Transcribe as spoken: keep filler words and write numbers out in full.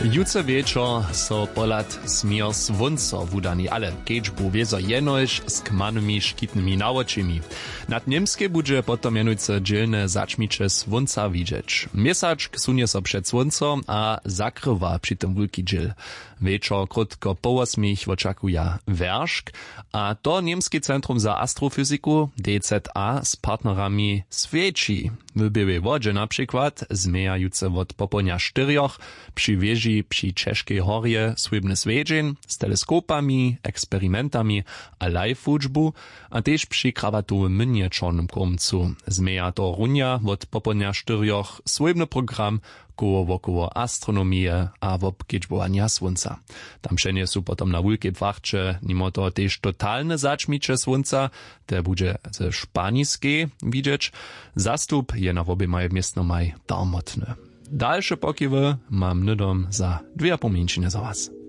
Jutře wječor so pohlad směr słónco wudani, ale kedźbu wězo jenož z kmanymi škitnymi nawočimi. Nad němskej budźe potom mjenujcy dźělne zaćmiće słónca widźeć. Měsačk sunje so před słónco a zakrywa při tym wulki dźěl. Wječor krótko po wosmich wočakuja wjeršk. A to němski centrum za astrofyziku, dza, z partnerami swjeći. W běłej wodźe na přikład změjajutře wot popołdnja štyrjoch při wěži při ćežkej horje swójbny swjedźeń z teleskopami, eksperimentami a live wučbu, a tež při krabatowym mynje w čornym kórmcu změja to runja wot popołdnja štyrjoch swójbny program koło wokoło astronomije a wobkedźbowanja słónca. Tam přenjesu potom na wulkej płachće nimo toho tež totalne zaćmiće słónca, te budźe ze španiskej widźeć. Zastup je na woběmaj městnomaj darmotny. Dalše pokiwy mam hnydom za dwě a pół mjeńšiny za was.